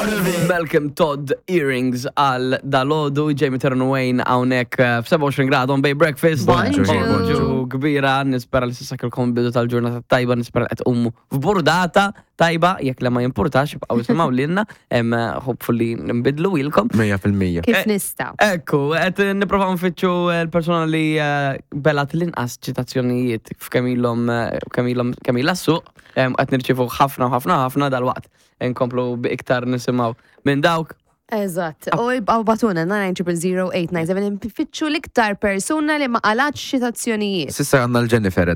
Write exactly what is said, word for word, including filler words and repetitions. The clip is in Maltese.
out of it. Malcolm Todd Earrings għal dalgħodu, Jamie Turn Wayne hawnhekk eh, f'sebgħa u għoxrin grad on Bay Breakfast. Bonġu. Bonġu kbira, nispera li s'issa kellkom bidu tal-ġurnata tajba, nispera li qed tqumu f'burdata tajba, jekk le ma jimpurtax, ibqgħu isimgħu lilna, em, hopefully nbidlu ilkom. Mija fil-mija. Kif Eh, nista'? Ekku, qed nipprovaw nfittxu l-persona li eh, belgħet l-inqas ċitazzjonijiet f'kemm ilhom eh, kemm ilhom kemm ilha suq, em, qed nirċievu ħafna ħafna ħafna, dal-waqt nkomplu bi iktar nisimgħu minn dawk. Eżatt. U ibqgħu ibagħtulna nine zero zero eight nine seven, nfittxu l-iktar persuna li ma qalgħetx ċitazzjonijiet. S'issa għandna l-Jennifer.